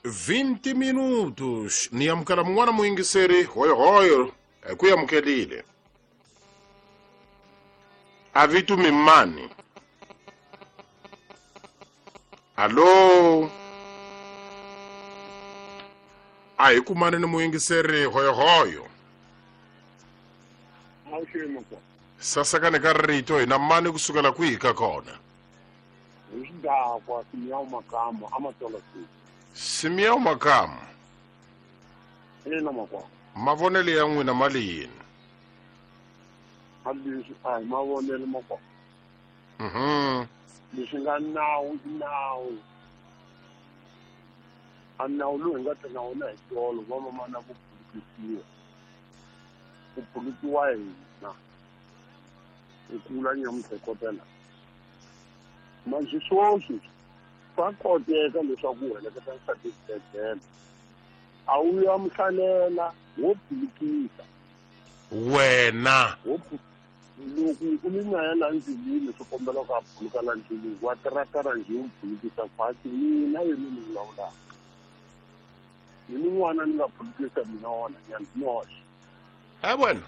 20 minutos. Ni amukela mun'wana muyingiseri hoyohoyo hi ku amukelile. A vito mi mani? Allo? A hi kumani ni muyingiseri hoyohoyo. Sasekani ka rito hina mani kusukela kwihi ka kona? Hi xidakwa Simiyawu Makamu Amatola City. Simiyawu Makamu. Ina makwavo. Mavonelo ya n'wina ma le yini? A leswi a hi mavonelo makwavo. Leswi nga nawu i nawu. A nawu lowu hi nga ta na wona hi tolo va mamana ku phulukisiwa. Ku phulukiwa hina. Ku kula nyamutlhekotela. Manjhe sweswi swa koteka leswaku u heleketa nsati exibedhlele. A wu ya muhlalela wo phulukisa. Wena. Loko u ni na ya la ndlwini swi kombela ku a phuluka la ndlwini wa tiratara njhe u phulukisa khwatsi mina yena ni vulavulaka. Ni ni n'wana ni nga phulukisa mina wona nyana noxe. Ha wena.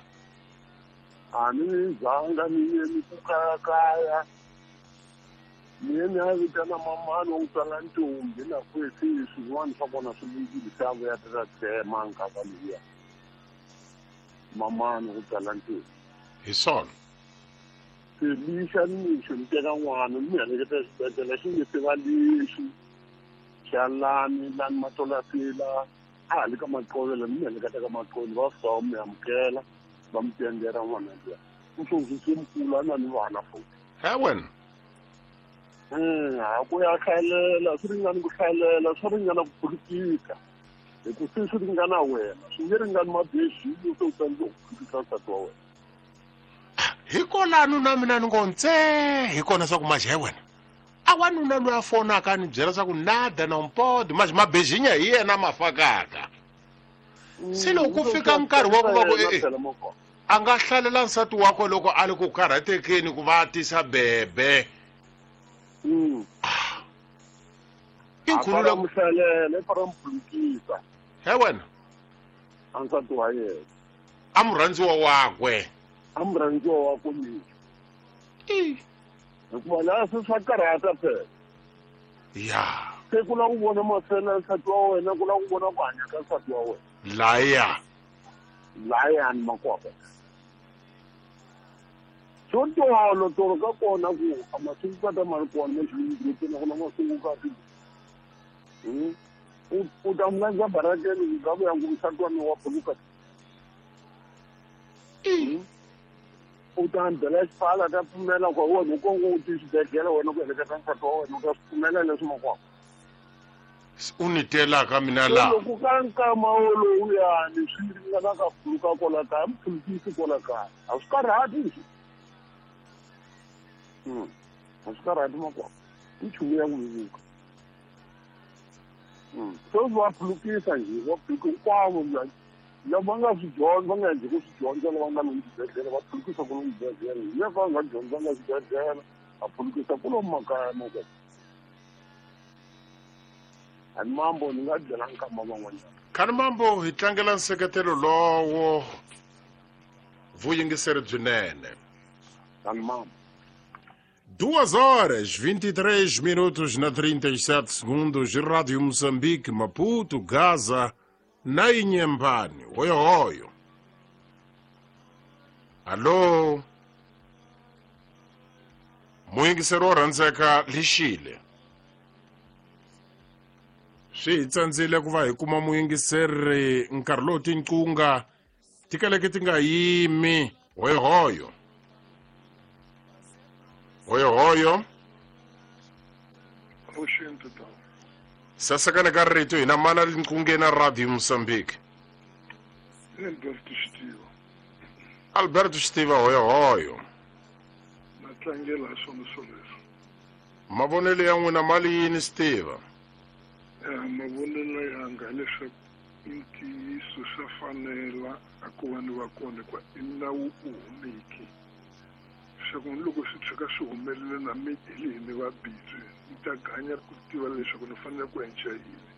A ni zanga ni ye ni ku kayakaya. Ni ye ni ya vitana mamani wa ku tswala ntombi na kwesi swin'wana swa kona swi lunghile se a vuya ta tsema nkava liya. Mamani wa ku tswala ntombi. Hi swona. Se lixa nimixo ni teka n'wana ni heleketa exibedhlele xi nge se va lexi xa lani lani Matolasila a ha le ka Maqovela ni heleketa ka Maqovela va fika va mi amukela va mi tendera n'wana luya. U sweswi se mukulu a na ni vana futhi. He wena. Ha ku ya hlalela swi ringani ku hlalela swi ringana ku phulukisa hi ku se swi ringana wena swi nge ringani mabexini se u tsandzeka ku phulukisa nsati wa wena. Hikwalano na mina ni ngo ntse hi kona swa ku majhe wena a wanuna loyi a fonaka a ni byela swa ku nada na mpodi majhe mabejinya hi yena ma fakaka. Se loko ku fika nkarhi wa ku va ku a nga hlalela nsati wakwe loko a ri ku karhatekeni ku va a tisa bebe. I nkhulu loko muhlalela i fara muphulukisa. He wena. A nsati wa yena. A murhandziwa wakwe. A murhandziwa wakwe mixo. Hikuva laha se swa karhata phela. Ya. Se ku lava ku vona mafela ya nsati wa wena ku lava ku vona ku hanya ka nsati wa wena. Laya. Layani makwapa. Xo tolo tolo ka kona ku a masungukati ma ri kona na ku na masungukati. U ta n'wi landza barakeni ku nga vuya ku nsati wa mina wa phuluka. U ta byela xipfala ta pfumela ku wena u kongo u ti xibedhlele wena ku heleketa nsati wa wena u ta swi pfumela leswi makwapa. U ni telaka mina laha. Loko ka nkama wolowuyani swi ringana ka phuluka kwala kaya mi phulukisi kwala kaya a swi karhati leswi. A swi karhati makwapa i nchumu ya ku vevuka. Sweswi va phulukisa njhe va phuluka hinkwavo lava va nga swi dyondza va nga endli ku swi dyondza lava nga lomu xibedhlele va phulukisa ku lomu xibedhlele hi lava va nga dyondzanga xibedhlele va phulukisa ku lomu makaya makwapa. Ani mambo ni nga byela nkama van'wanyana. Khani mambo hi tlangela nseketelo lowo vuyingiseri byinene. Khani mambo. 2 horas 23 minutos na 37 segundos. Rádio Moçambique, Maputo, Gaza na Inhambane. Hoyo hoyo. Alô? Muyingiseri wo rhandzeka lixile. Swi hi tsandzile ku va hi kuma muyingiseri nkarhi lowu tinqunga ti kaleke ti nga yimi. Hoyohoyo. Hoyohoyo. Sasekana ka rito hina mana linqungeni na Radio Mozambique. Alberto Xitiva. Alberto Xitiva hoyohoyo. Na tlangela hi swona swoleswo. Mavonelo ya n'wina mali yini Xitiva? Mavonelo yanga hileswaku i ntiyiso swa fanela a ku va ni va kona hikuva i nawu u humeki. Leswaku ni loko swi tshuka swi humelela na mi hi ni va busy ni ta ganya ku tiva leswaku ni fanele ku endla yini.